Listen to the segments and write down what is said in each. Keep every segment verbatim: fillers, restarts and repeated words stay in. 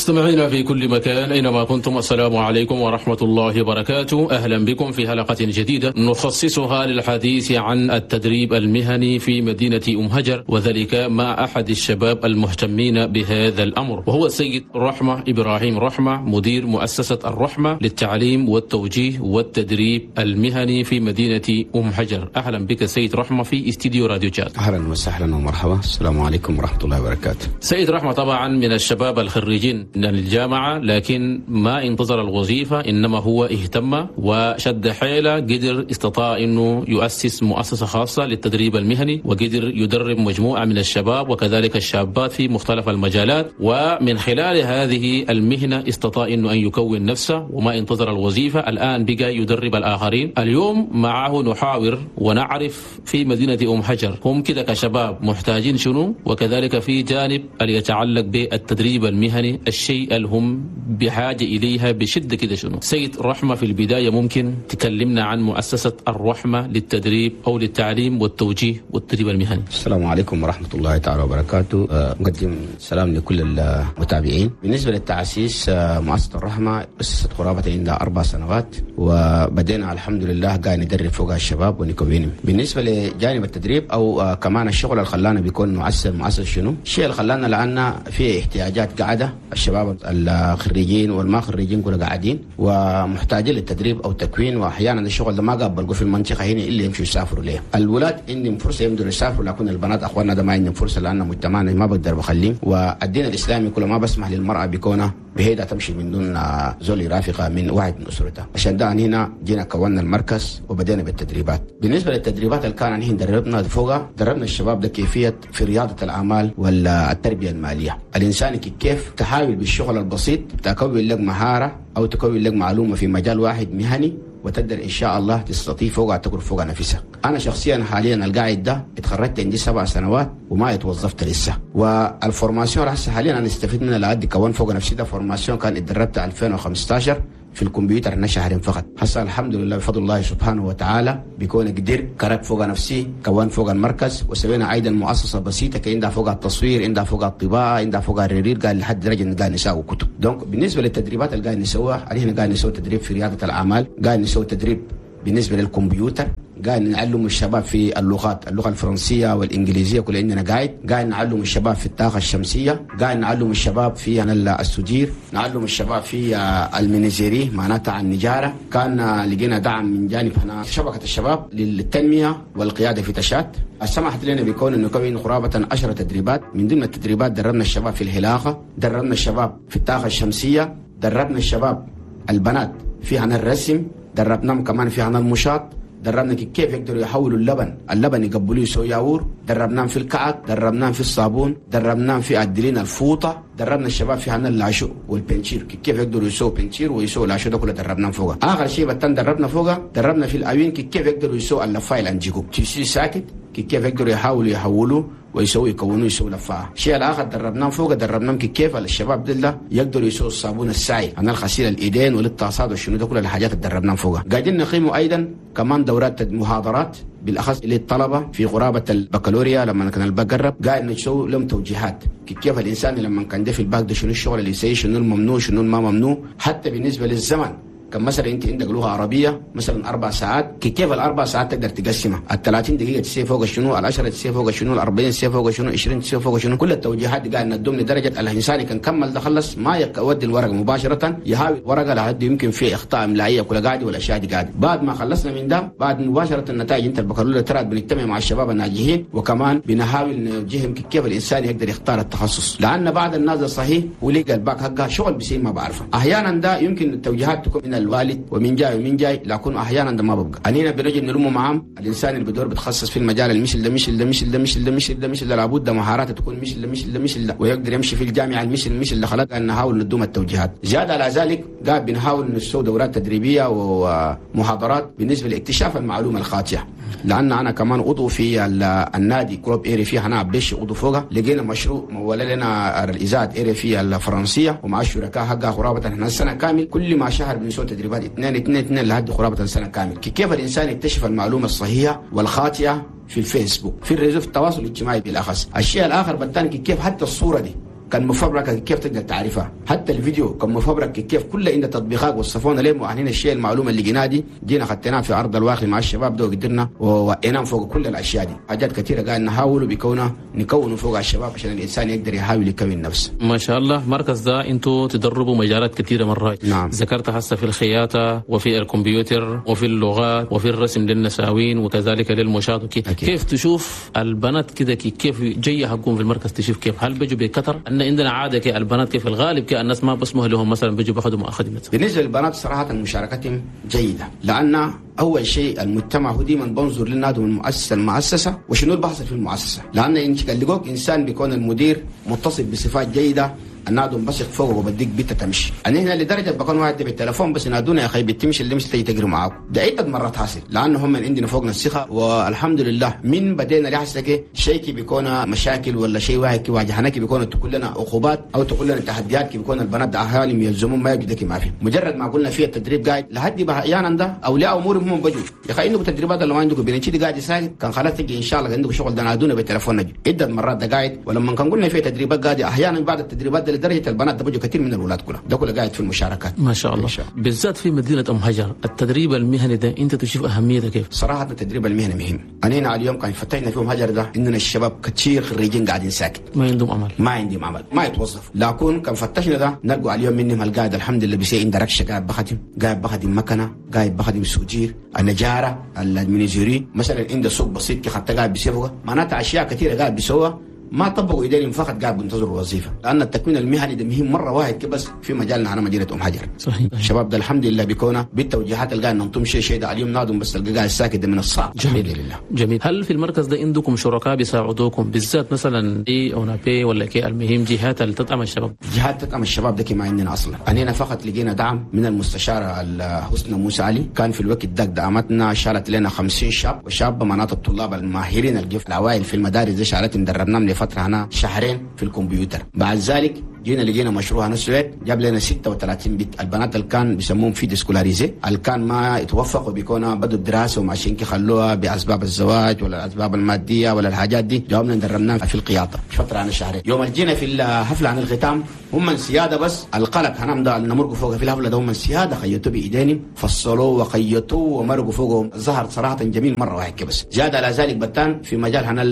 مستمعينا في كل مكان أينما كنتم، السلام عليكم ورحمة الله وبركاته. أهلا بكم في حلقة جديدة نخصصها للحديث عن التدريب المهني في مدينة أم هجر، وذلك مع أحد الشباب المهتمين بهذا الأمر، وهو السيد رحمة إبراهيم رحمة، مدير مؤسسة الرحمة للتعليم والتوجيه والتدريب المهني في مدينة أم هجر. أهلا بك سيد رحمة في استديو راديو تشاد. أهلا وسهلا ومرحبا، السلام عليكم ورحمة الله وبركاته. سيد رحمة طبعا من الشباب الخريجين من الجامعة، لكن ما انتظر الوظيفة، إنما هو اهتم وشد حيله، قدر استطاع أنه يؤسس مؤسسة خاصة للتدريب المهني، وقدر يدرب مجموعة من الشباب وكذلك الشابات في مختلف المجالات، ومن خلال هذه المهنة استطاع أنه أن يكون نفسه وما انتظر الوظيفة، الآن بقى يدرب الآخرين. اليوم معه نحاور ونعرف في مدينة أم حجر هم كده كشباب محتاجين شنو، وكذلك في جانب اللي يتعلق بالتدريب المهني، الشيء اللي هم بحاجة إليها بشدة كده شنو. سيد رحمة، في البداية ممكن تكلمنا عن مؤسسة الرحمة للتدريب أو للتعليم والتوجيه والتدريب المهني؟ السلام عليكم ورحمة الله تعالى وبركاته. نقدم سلام لكل المتابعين. بالنسبة للتأسيس، مؤسسة الرحمة أسست قرابة عندها أربع سنوات، وبدينا الحمد لله قاعد ندرب فوق الشباب ونكوينهم. بالنسبة لجانب التدريب أو كمان الشغل اللي خلانا بيكون مؤسسة مؤسسة شنو الشيء اللي خلانا، لأن في احتياجات قاعدة، الشباب الخريجين والما خريجين كلها قاعدين ومحتاجين للتدريب او تكوين، واحيانا الشغل ده ما قابلوا في المنطقة هنا اللي يمشوا يسافروا ليه. الولاد عندهم فرصة يقدروا يسافروا، لكن البنات اخواننا ده ما عندهم فرصة، لان مجتمعنا ما بقدر بخليهم، والدين الاسلامي كله ما بسمح للمراة بكونها بهيدا تمشي من دون زول يرافقها من واحد من اسرتها. عشان ده هنا جينا كونا المركز وبدينا بالتدريبات. بالنسبة للتدريبات اللي كان هنا دربنا فوقها، دربنا الشباب ده كيفية في رياضة الاعمال والتربية المالية. الانسان كيف تحاول بالشغل البسيط تكون لك مهارة او تكون لك معلومة في مجال واحد مهني، وتقدر ان شاء الله تستطيع فوقها تكون فوق نفسك. انا شخصيا حاليا القاعد ده اتخرجت عندي سبع سنوات وما اتوظفت لسه، وال formation هسه حاليا انا استفدت منها لعد كون فوق نفسي. ده formation كان اتدربت ألفين وخمستاشر في الكمبيوتر هنا شهرين فقط. هسه الحمد لله بفضل الله سبحانه وتعالى بيكون قدر كرك فوق نفسي، كون فوق المركز، وسوينا ايضا مؤسسة بسيطة كان عندها فوق التصوير، عندها فوق الطباعة، عندها فوق الريرير، قال لحد درجه ان قاعد نساوي كتب. donc بالنسبة للتدريبات اللي قاعد نسويها، احنا قاعد نسوي تدريب في رياده الاعمال، قاعد نسوي تدريب بالنسبة للكمبيوتر، قاعد نعلم الشباب في اللغات، اللغة الفرنسية والانجليزية كل عندنا قاعد، قاعد نعلم الشباب في الطاقة الشمسية، قاعد نعلم الشباب في ال soudure، نعلم الشباب في ال menuiserie معناتها النجاره. كان لقينا دعم من جانب هنا شبكة الشباب للتنمية والقيادة في تشاد، سمحت لنا بكون انه نكون قرابة عشرة تدريبات. من ضمن التدريبات دربنا الشباب في الحلاقة، دربنا الشباب في الطاقة الشمسية، دربنا الشباب البنات في عن الرسم، دربناهم كمان في عن المشاط، دربنا كيف يقدروا يحولوا اللبن، اللبن يقبلوه يسوي ياور، دربناهم في الكعك، دربناهم في الصابون، دربناهم في عدلين الفوطه، دربنا الشباب في عن العشو وال peinture، كيف يقدروا يسووا peinture ويسووا العشو ده كله دربناهم فوقه. اخر شيء بتن دربنا فوقه، دربنا في الاوين كيف يقدروا يسووا اللفايل انجيكو تيسي ساكت، كيف يقدروا يحاولوا يحولوا ويسوي يكونوا يسووا لفاعة. الشيء الاخر دربناهم فوق، دربناهم كيف الشباب دول يقدروا يسووا الصابون السائل عن الغسيل الايدين والطاسات والشنو ده كل الحاجات اللي دربناهم فوق. قاعدين نقيموا ايضا كمان دورات محاضرات بالاخص للطلبة في قرابة البكالوريا لما كان الباك قرب، قاعد نسوي لهم توجيهات كيف الانسان لما كان ده في الباك ده شنو الشغل اللي يسوي، شنو الممنوع شنو ما ممنوع، حتى بالنسبة للزمن. كم مثلا انت عندك لغة عربية مثلا اربع ساعات، كيف الاربع ساعات تقدر تقسمها؟ ال ثلاثين دقيقة تسي فوق شنو، ال عشرة تسي فوق شنو، ال أربعين تسي فوق شنو، عشرين تسي فوق شنو. كل التوجيهات دي قاعد ندوم لدرجة الانسان كان كمل ده خلص ما يودي الورقة مباشرة، يهاوي الورقة لحد يمكن في اخطاء املائيه كل قاعد والاشياء دي قاعد. بعد ما خلصنا من ده بعد مباشرة النتائج انت البكالوريا ترى بنجتمع مع الشباب الناجحين، وكمان بنحاول نوجههم كيف الانسان يقدر يختار التخصص، لان بعض الناس صحيح ولقى الباك حقها شغل بسيط ما بعرفه. احيانا ده يمكن التوجيهات تكون من الوالد ومن جاي ومن جاي، لكن احيانا ده ما ببقى. انينا بنجي نلمه معاهم الانسان اللي بدور بتخصص في المجال المثل ده مثل ده مثل ده مثل ده مثل ده مثل ده، لابد ده مهاراته تكون مثل ده مثل ده مثل ده، ويقدر يمشي في الجامعة المثل مثل ده. خلاص نحاول ندوم التوجيهات. زيادة على ذلك قاعد بنحاول نسوي دورات تدريبية ومحاضرات بالنسبة لاكتشاف المعلومة الخاطئة، لان انا كمان عضو في النادي club RFI هنا بيش عضو فوقه، لقينا مشروع مولى لنا الاذاعة RFI الفرنسية ومع الشركاء حقها قرابة احنا السنة كامل كل ما شهر بنسوي تدريبات اثنين اثنين اثنين لحد قرابة سنة كامل، كيف الانسان يكتشف المعلومة الصحيحة والخاطئه في الفيسبوك، في ال réseau، في التواصل الاجتماعي بالاخص. الشيء الاخر بالثاني كيف حتى الصورة دي كان مفبركه كيف تقدر تعرفها. حتى الفيديو كم مفبرك كيف كل عند تطبيقات وصفونا ليه مؤهلين الشيء المعلومة اللي جينا دي جينا خدناها في ارض الواقع مع الشباب ده وقدرنا ووقيناهم فوق كل الاشياء دي. حاجات كثيرة قاعد نحاول بكونها نكون فوق الشباب عشان الانسان يقدر يحاول يكون نفسه. ما شاء الله. مركز ده انتوا تدربوا مجالات كثيرة مرات. نعم. ذكرت هسه في الخياطة وفي الكمبيوتر وفي اللغات وفي الرسم للنساوين وكذلك للمشاة. كيف تشوف البنات كده كيف جاية حقهم في المركز؟ تشوف كيف هل بيجوا بكثر؟ ان عندنا عادة كي البنات كيف الغالب كي الناس ما بسمح لهم مثلا بيجوا بياخذوا مؤاخذة. بالنسبة للبنات صراحة مشاركتهم جيدة، لان اول شيء المجتمع هو ديما بنظر لنا من المؤسسة المؤسسة وشنو البحث في المؤسسة، لان انت لقوك انسان بيكون المدير متصف بصفات جيدة النادم بس فوق وبديك بيتا تمشي. انا هنا لدرجة بكون واحد بالتليفون بس نادونا يا اخي بتمشي اللي مش تيجي تجري معاكم. ده عده مرات حاصل لانه هم من عندنا فوقنا الثقة والحمد لله. من بدينا لحسك شيء بيكون مشاكل ولا شيء واحد كي واجهناك بيكون تقول لنا عقوبات او تقول لنا تحديات كي بيكون البنات اهالي يلزمون ما يجدك ما في. مجرد ما قلنا فيها التدريب قاعد لحد احيانا ده اولياء امورهم هم بجوا يا اخي عندكم تدريبات ولا ما عندكم بنتي قاعد يسال كان خلاص تجي ان شاء الله عندكم شغل ده نادونا بالتليفون نجي عده مرات ده قاعد. ولما كان قلنا فيها تدريبات قاعد احيانا بعد التدريبات لدرجة البنات ده بيجوا كثير من الاولاد كلها ده كله قاعد في المشاركات. ما شاء الله. شاء الله. بالذات في مدينة ام هجر التدريب المهني ده انت تشوف اهميته كيف؟ صراحة التدريب المهني مهم. انا هنا اليوم كان فتحنا في ام هجر ده اننا الشباب كثير خريجين قاعدين ساكت ما عندهم عمل ما عندهم عمل ما يتوظفوا، لكن كان فتشنا ده نلقوا اليوم منهم القاعد الحمد لله بيسي عند ركشه قاعد بخدم قاعد بخدم مكنه قاعد بخدم سوجير النجاره ال menuiserie مثلا عنده سوق بسيط كي حتى قاعد بيسوقه معناتها اشياء كثيرة قاعد بيسوقها ما طبقوا ايديهم فقط قاعد بينتظروا الوظيفة، لان التكوين المهني ده مهم مرة واحد بس في مجالنا هنا مدينة ام حجر. صحيح. الشباب ده الحمد لله بيكونا بالتوجيهات اللي قاعد ننطم شيء شيء ده اليوم نادم بس القاعد الساكت ده من الصعب. جميل. الحمد لله. جميل. هل في المركز ده عندكم شركاء بيساعدوكم بالذات مثلا اي اونابي ولا كي المهم جهات اللي تدعم الشباب؟ جهات تدعم الشباب ده ما عندنا اصلا. انا فقط لقينا دعم من المستشارة حسنى موسى علي، كان في الوقت ده دعمتنا شالت لنا خمسين شاب وشابه معناته الطلاب الماهرين الجف الاوائل في المدارس دي شالتهم دربناهم لفترة هنا شهرين في الكمبيوتر. بعد ذلك جينا لقينا مشروع هنا السويد جاب لنا ستة وثلاثين بيت البنات اللي كان بيسموهم filles déscolarisées اللي كان ما يتوفقوا بيكونوا بدوا الدراسة وماشيين كي خلوها باسباب الزواج ولا الاسباب المادية ولا الحاجات دي، جاوبنا دربناهم في القياطه فترة عن شهرين. يوم جينا في الحفلة عن الختام هم من سيادة بس القلق هنام ده نمرقوا فوق في الحفلة ده هم من سيادة خيطوا بايدينهم فصلوه وخيطوه ومرقوا فوقهم ظهر صراحة جميل مرة واحد بس. زاد على ذلك بتان في مجال هنا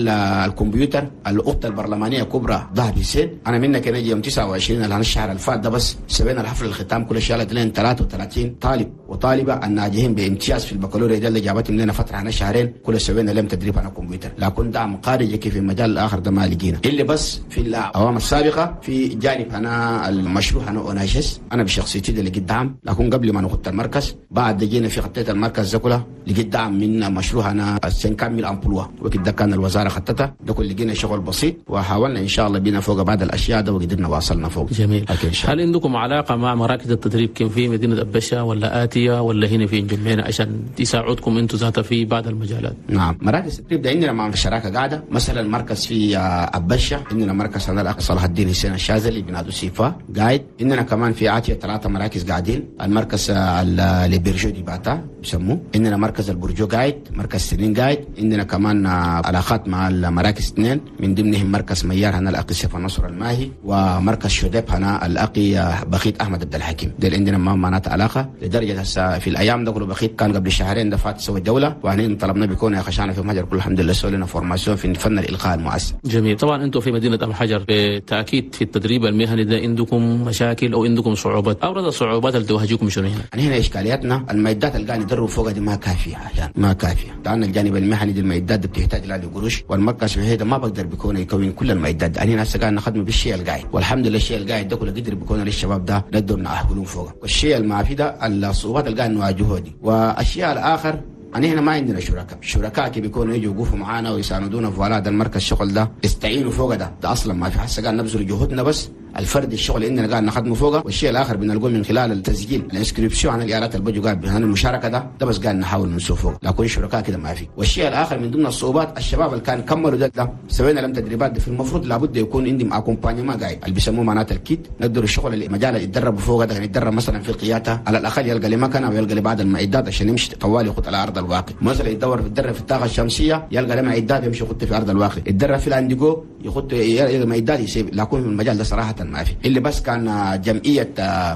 الكمبيوتر الاخت البرلمانية كبرى ذهب حسين انا منك نجي يوم تسعة وعشرين اللي الشهر الفات ده بس سوينا الحفل الختام كل شالت لنا ثلاثة وثلاثين طالب وطالبه الناجحين بامتياز في البكالوريا ده اللي جابتهم لنا فترة عن شهرين كل سوينا لهم تدريب على الكمبيوتر. لكن دعم خارجي في المجال الاخر ده ما لقينا اللي بس في الاعوام السابقة في جانب انا المشروع انا اوناجس انا بشخصيتي اللي لقيت دعم، لكن قبل ما نخط المركز بعد جينا في خطيت المركز ده كله لقيت دعم من مشروع انا cinquante mille emplois وقت ده كان الوزارة خطتها ده كل لقينا شغل بسيط وحاولنا ان شاء الله بينا فوق بعض الاشياء ده وقدرنا واصلنا فوق. جميل. هل عندكم علاقة مع مراكز التدريب كان في مدينة أبشة ولا آتية ولا هنا في جمينة عشان يساعدكم انتم ذاتها في بعض المجالات؟ نعم مراكز التدريب ده عندنا مع شراكة قاعدة مثلا مركز في أبشة عندنا مركز هنا الاخ صلاح الدين حسين الشاذلي بنادو سيفا قاعد، عندنا كمان في آتية ثلاثة مراكز قاعدين، المركز اللي برجو دي باتا بيسموه، عندنا مركز البرجو قاعد، مركز سنين قاعد، عندنا كمان علاقات مع المراكز اثنين من ضمنهم مركز ميار هنا الاخ سيف النصر الماهي ومركز شديب هنا الاقي بخيت احمد عبد الحكيم. ده عندنا ما معناته علاقة لدرجة هسه في الايام ده كله بخيت كان قبل شهرين ده فات سوى الدولة وهنا طلبنا بيكون يا خشانه في محجر كل الحمد لله سوى لنا formation في فن الالقاء المؤسس. جميل. طبعا انتم في مدينة ام حجر بالتاكيد في التدريب المهني ده عندكم مشاكل او عندكم صعوبات، ابرز الصعوبات اللي تواجهكم شنو هنا؟ يعني هنا اشكالياتنا المعدات اللي قاعد ندرب فوقها دي ما كافيه احيانا ما كافيه، لان الجانب المهني دي المعدات دي بتحتاج لها قروش والمركز الوحيد ما بقدر بيكون يكون كل المعدات. انا هسه قاعد نخدم بالشيء القاعد والحمد لله الشيء القاعد ده كله قدر بيكون للشباب ده نقدر نأهلهم فوقه، والشيء المافي ده الصعوبات اللي قاعد نواجهها دي. والشيء الاخر يعني هنا ما عندنا شركاء، الشركاء كي بيكونوا يجوا يوقفوا معانا ويساندونا في هذا المركز الشغل ده يستعينوا فوق ده ده اصلا ما في. هسه قاعد نبذل جهودنا بس الفرد الشغل عندنا قاعد نخدمه فوقه، والشيء الاخر بنلقوه من خلال التسجيل ال inscription عن الالات اللي بيجوا قاعد هنا المشاركة ده ده بس قاعد نحاول نسوق فوق، لكن شركاء كده ما في. والشيء الاخر من ضمن الصعوبات الشباب اللي كان كملوا ده, ده سوينا لهم تدريبات ده في المفروض لابد يكون عندهم accompagnement قاعد اللي بيسموه معناته ال kit، نقدر الشغل اللي المجال اللي يتدربوا فوقه ده يتدرب مثلا في القيادة على الاقل يلقى لي مكنه ويلقى لي بعض المعدات عشان يمشي طوال يخط على ارض الواقع. مثلا يدور يتدرب في الطاقة الشمسية يلقى له معدات يمشي يخط في ارض الواقع، يتدرب في الانديجو يخط يلقى معدات يسيب. لكن في المجال ده صراحة ما في. اللي بس كان جمعية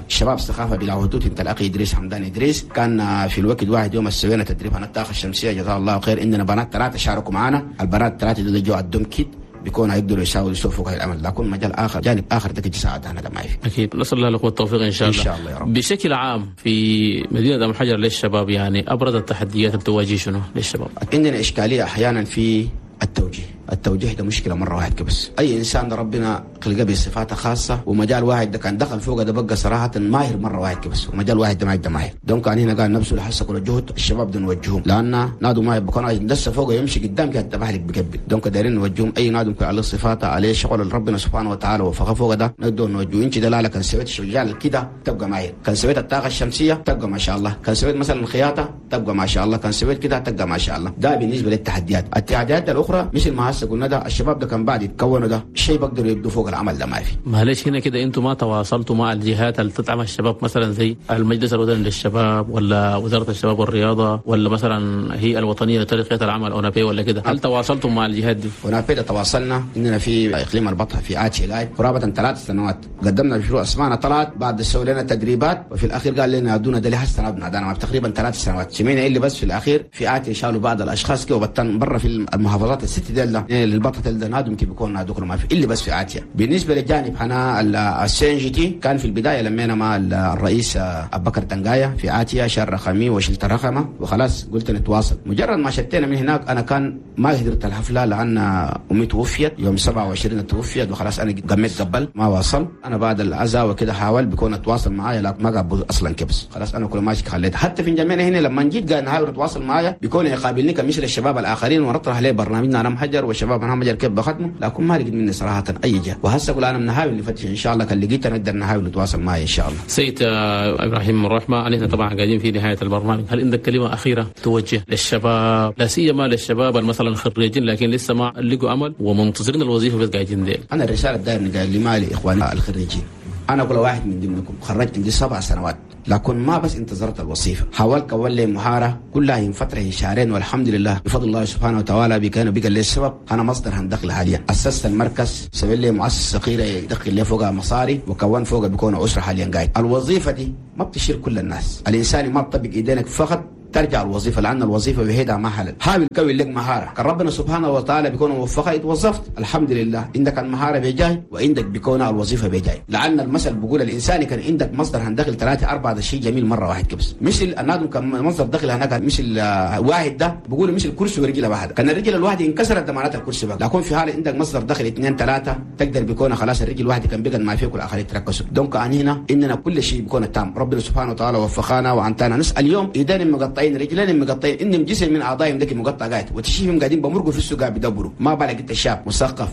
شباب ثقافة بلا حدود انت الاخ ادريس حمدان ادريس كان في الوقت واحد يوم سوينا تدريب عن الطاقة الشمسية جزاه الله خير. عندنا بنات ثلاثة شاركوا معنا، البنات ثلاثة دول جو عندهم كيت بيكون يقدروا يساووا يسووا العمل، لكن مجال اخر جانب اخر تجي تساعد انا ده ما في. اكيد نسال الله لكم التوفيق ان شاء الله. ان شاء الله يا رب. بشكل عام في مدينة ام حجر للشباب يعني ابرز التحديات اللي تواجه شنو للشباب؟ عندنا اشكالية احيانا في التوجيه. التوجيه ده مشكلة مرة واحد كبس. اي انسان ده ربنا خلقه بصفاته خاصة، ومجال واحد ده كان دخل فوق ده بقى صراحة ماهر مرة واحد كبس، ومجال واحد ده ما يبقى ماهر. donc كان هنا قال نفسه لحسة كل الجهد الشباب ده نوجههم، لان نادو ما يبقى كان دسه فوق يمشي قدام كده تبهلك بكبل. donc دايرين نوجههم اي نادو على صفاته عليه شغل ربنا سبحانه وتعالى وفقه فوق ده نقدر نوجهه. انت دلالة كان سويت شجال كده تبقى ماهر، كان سويت الطاقة الشمسية تبقى ما شاء الله، كان سويت مثلا الخياطة تبقى ما شاء الله، كان سويت كده تبقى ما شاء الله. ده بالنسبة للتحديات. التحديات الاخرى مثل ما هسه قلنا ده الشباب ده كان بعد يتكونوا ده شيء بقدروا يبدوا فوق العمل ده ما في. معلش هنا كده انتم ما تواصلتوا مع الجهات اللي تدعم الشباب مثلا زي المجلس الوطني للشباب ولا وزارة الشباب والرياضة ولا مثلا هي الوطنية لترقيه العمل اونابي ولا كده؟ هل تواصلتم مع الجهات دي؟ اونابي ده تواصلنا اننا في اقليم البطحه في اتشي لاي قرابة ثلاث سنوات قدمنا مشروع اسمعنا طلعت بعد سووا لنا تدريبات، وفي الاخير قال لنا ادونا ده لهسه نادانا تقريبا ثلاث سنوات. سمعنا اللي بس في الاخير في اتشي شالوا بعض الاشخاص كده وبطن برا في المحافظات الست ديال للبطه ده نادم كيف بيكون نادوكم ما في اللي بس في عاتية. بالنسبة للجانب انا السي ان جي تي كان في البداية لمينا مع الرئيس ابو بكر تنقايه في عاتية شال رقمي وشلت رقمه وخلاص قلت نتواصل. مجرد ما شتينا من هناك انا كان ما قدرت الحفلة لان امي توفيت يوم سبعة وعشرين توفيت وخلاص انا قمت قبل ما واصل. انا بعد العزاء وكده حاول بيكون اتواصل معايا لا ما قبل اصلا كبس خلاص انا كل ماشي خليت. حتى في جمعنا هنا لما جيت قال نحاول نتواصل معايا بيكون يقابلني كمثل الشباب الاخرين ونطرح عليه برنامجنا انا محجر والشباب انا محجر كيف بختمه، لكن ما لقيت مني صراحة اي جهة. وهسه اقول انا بنحاول نفتش ان شاء الله كان لقيت نقدر نحاول نتواصل معي ان شاء الله. سيد ابراهيم الرحمة نحن طبعا قاعدين في نهاية البرنامج، هل عندك كلمة اخيرة توجه للشباب لا سيما للشباب مثلا الخريجين لكن لسه ما لقوا امل ومنتظرين الوظيفة بس قاعدين ديل؟ انا الرسالة الدائرة قال لي مالي اخواني الخريجين، انا كل واحد من ضمنكم خرجت عندي سبع سنوات لكن ما بس انتظرت الوظيفة، حاولت كون لي مهارة كلها من فترة شهرين والحمد لله بفضل الله سبحانه وتعالى بكان بقى لي السبب انا مصدر هندخل حاليا. اسست المركز سوي لي مؤسسة صغيرة يدخل لي فوقها مصاري وكون فوقها بيكون اسره حاليا قاعد. الوظيفة دي ما بتشير كل الناس، الانسان ما بتطبق ايدينك فقط ترجع الوظيفة لان الوظيفة وحيدها ما حلال. حاول كوي لك مهارة كان ربنا سبحانه وتعالى بيكون موفقة اتوظفت الحمد لله عندك المهارة بيجاي وعندك بيكون الوظيفة بيجاي. لان المثل بيقول الانسان كان عندك مصدر هندخل ثلاثة أربعة ده شيء جميل مرة واحد كبس. مثل النادم كان مصدر دخل هناك مثل واحد ده بيقولوا مثل كرسي ورجله واحدة، كان الرجل الواحدة انكسرت ده معناتها الكرسي بقى. لكن في حال عندك مصدر دخل اثنين ثلاثة تقدر بيكون خلاص الرجل الواحدة كان بقى ما فيك والاخرين تركزوا. donc عن هنا اننا كل شيء بيكون تام. ربنا سبحانه وتعالى وفقنا وعنتنا نسال اليوم ايدين مقطعين رجلين مقطعين انهم جسم من اعضائهم ذاك مقطع قاعد وتشيهم قاعدين بمرقوا في السوق قاعد بيدبروا. ما بالك انت شاب مثقف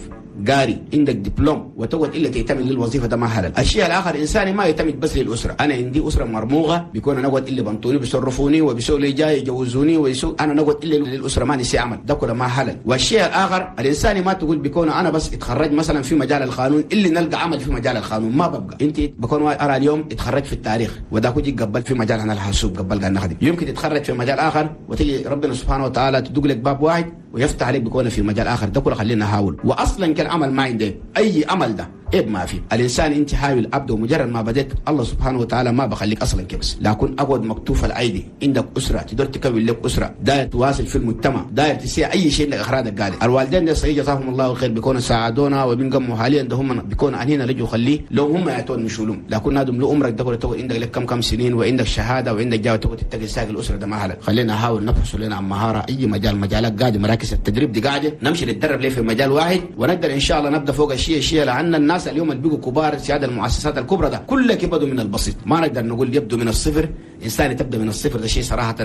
قاري عندك دبلوم وتقعد الا تعتمد للوظيفة ده ما حلال. الشيء الاخر انساني ما يعتمد بس للاسرة، انا عندي اسره مرموغه بيكون انا اقعد الا بنطوني بيصرفوني وبيسوا لي جاي يجوزوني ويسوا انا نقعد الا للاسرة ما نسي عمل ده كله ما حلال. والشيء الاخر الانساني ما تقول بيكون انا بس اتخرج مثلا في مجال القانون اللي نلقى عمل في مجال القانون ما ببقى. انت بكون ارى اليوم اتخرج في التاريخ وده كوجي قبل في مجال انا الحاسوب قبل قال نخدم، يمكن تتخرج في مجال اخر وتجي ربنا سبحانه وتعالى تدق لك باب واحد ويفتح عليك بيكون في مجال اخر ده كله خلينا نحاول. واصلا كان عمل ما عندي اي امل ده إيه ما في. الانسان انت حاول ابدا ومجرد ما بديت الله سبحانه وتعالى ما بخليك اصلا كبس. لكن اقعد مكتوف الايدي عندك اسره تقدر تكون لك اسره داير تواصل في المجتمع داير تسيع اي شيء لك اخراجك قال الوالدين ده صحيح جزاهم الله خير بيكونوا ساعدونا وبنقموا حاليا ده هم بيكونوا عنينا لجوا خليه لو هم يعطون مشولهم. لكن هذا لو عمرك ده تقول عندك لك كم كم سنين وعندك شهادة وعندك جاوه تقعد تتقي ساق الاسرة ده ما حلال. خلينا نحاول نبحث لنا عن مهارة اي مجال مجالات قاعدة مراكز التدريب دي قاعدة نمشي نتدرب ليه في مجال واحد ونقدر ان شاء الله نبدا فوق الشيء الشيء لان الناس اليوم اللي بيجوا كبار سيادة المؤسسات الكبرى ده كلك يبدو من البسيط، ما نقدر نقول يبدو من الصفر. انسان تبدا من الصفر ده شيء صراحة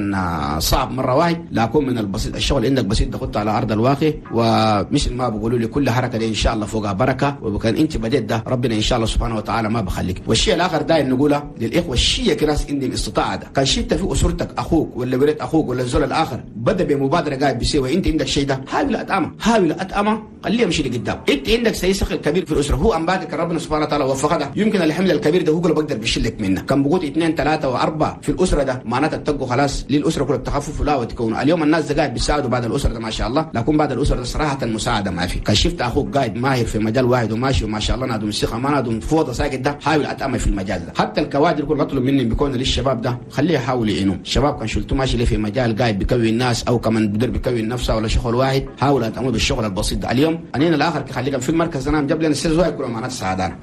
صعب مرة واحد، لكن من البسيط الشغل عندك بسيط تحطه على ارض الواقع. ومثل ما بيقولوا لي كل حركة دي ان شاء الله فوقها بركة، وكان انت بديت ده ربنا ان شاء الله سبحانه وتعالى ما بخليك. والشيء الاخر داير نقوله للاخوة الشيء كناس عندهم استطاعه ده كان شئت في اسرتك اخوك ولا ولد اخوك ولا الزول الاخر بدا بمبادرة قاعد بيسوي وانت عندك شيء ده حاول اتامه حاول اتامه خليه يمشي لقدام. انت عندك سيسخ الكبير في الاسرة هو كان باكر ربنا سبحانه وتعالى وفقه ده يمكن الحمل الكبير ده هو كله بقدر بيشيلك منه. كان بقول اثنين ثلاثة واربعة في الاسرة ده معناتها تبقوا خلاص للاسرة كلها بتخفف لا وتكون. اليوم الناس قاعد بيساعدوا بعد الاسرة ده ما شاء الله، لكن بعد الاسرة ده صراحة المساعدة ما في. كان شفت اخوك قاعد ماهر في مجال واحد وماشي وما شاء الله نادم الثقة ما نادم فوضى ساكت ده، حاول اتامل في المجال ده. حتى الكوادر كل اطلب مني بيكون للشباب ده خليه يحاول يعينوا الشباب. كان شلته ماشي ليه في مجال قاعد بيكوي الناس او كمان بدر بيكوي نفسه ولا شغل واحد، حاول اتامل بالشغل البسيط ده. اليوم انين الاخر خليك في المركز انا جاب لنا السيز واحد كله معناته سعادة.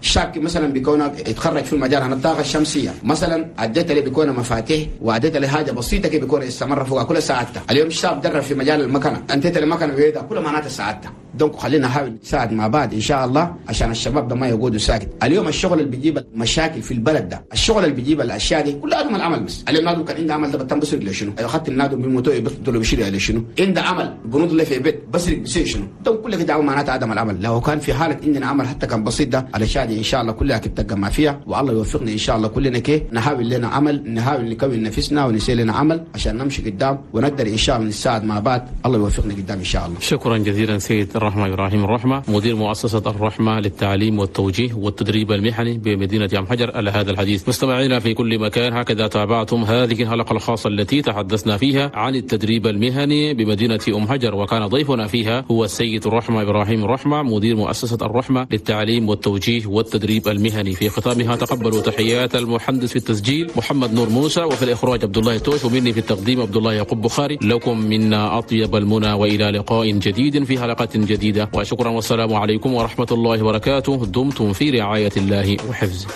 الشاب مثلا بيكون يتخرج في المجال عن الطاقة الشمسية مثلا، اديت له بيكون مفاتيح واديت له حاجة بسيطة كي بيكون استمر فوق كل ساعته. اليوم الشاب درب في مجال المكنه، انتهت المكنه بيدا كل معناته سعادته. donc خلينا نحاول نساعد مع بعض ان شاء الله عشان الشباب ده ما يقعدوا ساكت. اليوم الشغل اللي بيجيب مشاكل في البلد ده، الشغل اللي بيجيب الاشياء دي كلها عدم العمل. بس اليوم نادو كان عنده عمل ده بتم بسرق لشنو؟ اخذت النادو بموتو بيقتلوا بيشيل على شنو؟ عنده عمل بنود له في بيت بسرق بيصير شنو؟ donc كل كده معناته عدم العمل. لو كان في حاله عندنا عمل حتى كان بسيط ده الاشياء دي ان شاء الله كلها تبقى فيها، والله يوفقنا ان شاء الله كلنا كي نحاول لنا عمل، نحاول نكون نفسنا ونسير لنا عمل عشان نمشي قدام ونقدر ان شاء الله نساعد مع بعض. الله يوفقنا قدام ان شاء الله. شكرا جزيلا سيد الرحمة إبراهيم الرحمة، مدير مؤسسة الرحمة للتعليم والتوجيه والتدريب المهني بمدينة أم حجر، على هذا الحديث. مستمعينا في كل مكان، هكذا تابعتم هذه الحلقة الخاصة التي تحدثنا فيها عن التدريب المهني بمدينة أم حجر، وكان ضيفنا فيها هو السيد الرحمة إبراهيم الرحمة، مدير مؤسسة الرحمة للتعليم والتوجيه والتدريب المهني. في ختامها تقبلوا تحيات المهندس في التسجيل محمد نور موسى، وفي الإخراج عبد الله توش، ومني في التقديم عبد الله يعقوب بخاري. لكم منا أطيب المنى، وإلى لقاء جديد في حلقة جديدة، وشكرا والسلام عليكم ورحمة الله وبركاته. دمتم في رعاية الله وحفظه.